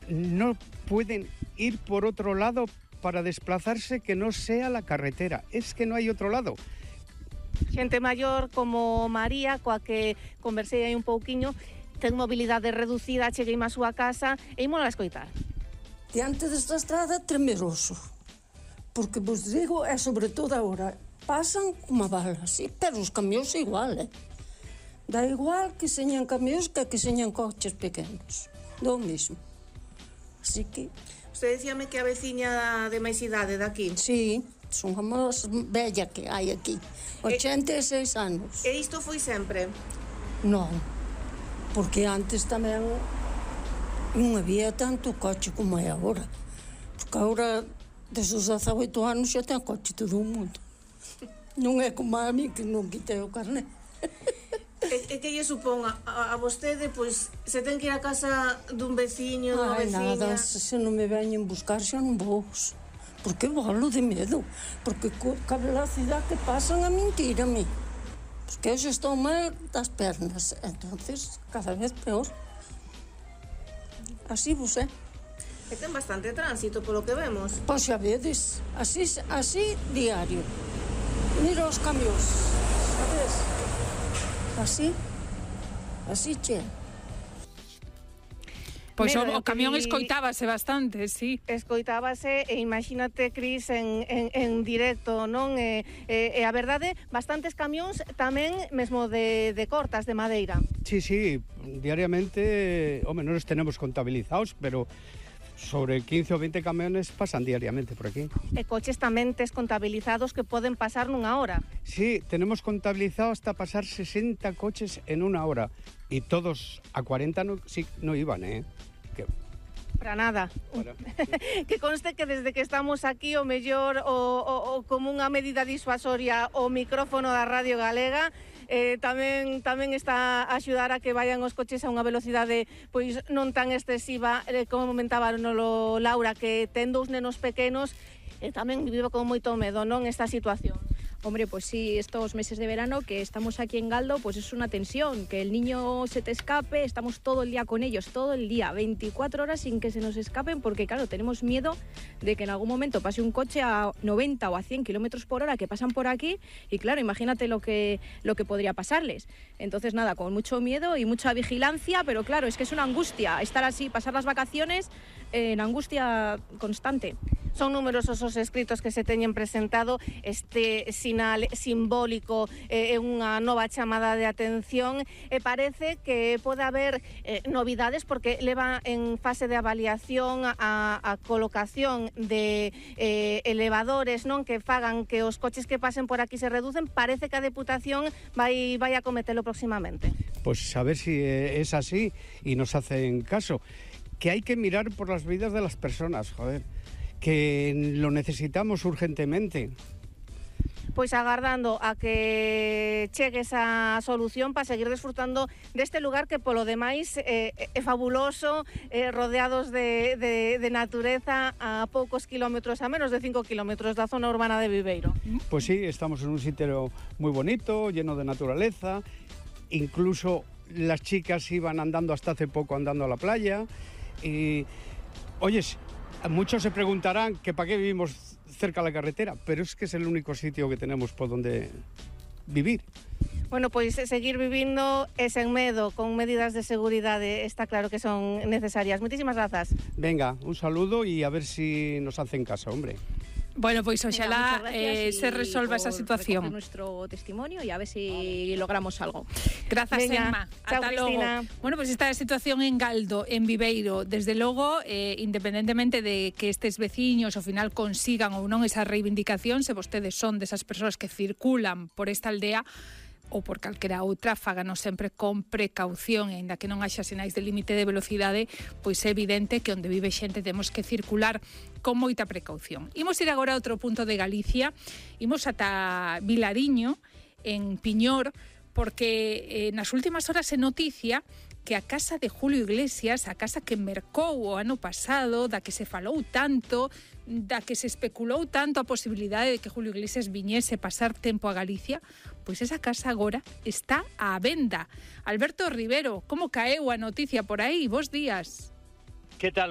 no pueden ir por otro lado para desplazarse que no sea la carretera. Es que no hay otro lado. Xente maior como María, coa que conversei aí un pouquiño, ten mobilidade reducida, cheguei á súa casa e ímola a escoitar. Diante desta estrada tremeroso, porque vos digo, é sobre todo agora, pasan como balas, sí, pero os camións igual, dá igual que señan camións que señan coches pequenos, do mesmo. Así que... Usted decíame que a veciña de máis idade daqui. Sí, son a máis bella que hai aquí, 86 anos. E isto foi sempre? Non, porque antes tamén non había tanto coche como é agora. Porque agora, desde os 18 anos, xa ten coche todo o mundo. Non é como a mí, que non quitei o carné. E que lle supón a vostede, pois, se ten que ir a casa dun veciño, dunha veciña? Nada, se non me veñen buscar xa non vou. Porque volo de medo. Porque ca velocidade que pasan a mentírame. Porque eu xa estou mal das pernas. Entonces, cada vez peor. Así vos é. E ten bastante tránsito, polo que vemos. Pois xa vedes, así diario. Mira os camións, sabes? Así che. Pois o camión escoitábase bastante, sí. Escoitábase e imagínate, Cris, en directo, non? E a verdade, bastantes camións tamén mesmo de cortas, de madeira. Sí, diariamente, non os tenemos contabilizados, pero sobre 15 ou 20 camiones pasan diariamente por aquí. E coches tamén tes contabilizados que poden pasar nunha hora. Sí, tenemos contabilizado hasta pasar 60 coches en una hora. Y todos a 40 no iban, Para nada. Que conste que desde que estamos aquí o mellor o como unha medida disuasoria o micrófono da Radio Galega tamén está a axudar a que vayan os coches a unha velocidade pois non tan excesiva, como comentaba Laura, que ten dous nenos pequenos e tamén vive con moito medo, non, esta situación. Hombre, pues sí, estos meses de verano que estamos aquí en Galdo, pues es una tensión, que el niño se te escape, estamos todo el día con ellos, todo el día, 24 horas sin que se nos escapen, porque claro, tenemos miedo de que en algún momento pase un coche a 90 o a 100 kilómetros por hora que pasan por aquí, y claro, imagínate lo que podría pasarles. Entonces nada, con mucho miedo y mucha vigilancia, pero claro, es que es una angustia estar así, pasar las vacaciones en angustia constante. Son numerosos os escritos que se teñen presentado. Este sinal simbólico é unha nova chamada de atención e parece que pode haber novidades porque leva en fase de avaliación a colocación de elevadores, non, que fagan que os coches que pasen por aquí se reducen. Parece que a Deputación vai a cometelo próximamente. Pues a ver si es así y nos hacen caso. Que hay que mirar por las vidas de las personas, joder. Que lo necesitamos urgentemente. Pois agardando a que chegue esa solución para seguir desfrutando deste lugar que polo demais é fabuloso, rodeados de natureza a poucos kilómetros, a menos de 5 kilómetros da zona urbana de Viveiro. Pues sí, estamos en un sitio muy bonito, lleno de naturaleza, incluso las chicas iban andando hasta hace poco andando a la playa y, oyes, muchos se preguntarán que para qué vivimos cerca de la carretera, pero es que es el único sitio que tenemos por donde vivir. Bueno, pois seguir vivindo e sen medo, con medidas de seguridade, está claro que son necesarias. Muchísimas grazas. Venga, un saludo y a ver si nos hacen caso, hombre. Bueno, pues ojalá se resuelva esa situación. Nuestro testimonio y a ver si logramos algo. Gracias, Venga, Emma. chao, Hasta luego. Cristina. Bueno, pues esta situación en Galdo, en Viveiro, desde logo, independentemente de que estes veciños ao final consigan ou non esa reivindicación, se vostedes son desas persoas que circulan por esta aldea, ou por calquera outra, fáganos sempre con precaución, e aínda que non haxa sinais de límite de velocidade, pois é evidente que onde vive xente temos que circular con moita precaución. Imos ir agora a outro punto de Galicia, imos ata Vilariño, en Piñor, porque nas últimas horas é noticia que a casa de Julio Iglesias, a casa que mercou o ano pasado, da que se falou tanto, da que se especulou tanto a posibilidade de que Julio Iglesias viñese pasar tempo a Galicia, pois esa casa agora está á venda. Alberto Rivero, como caeu a noticia por aí? Bos días. Que tal?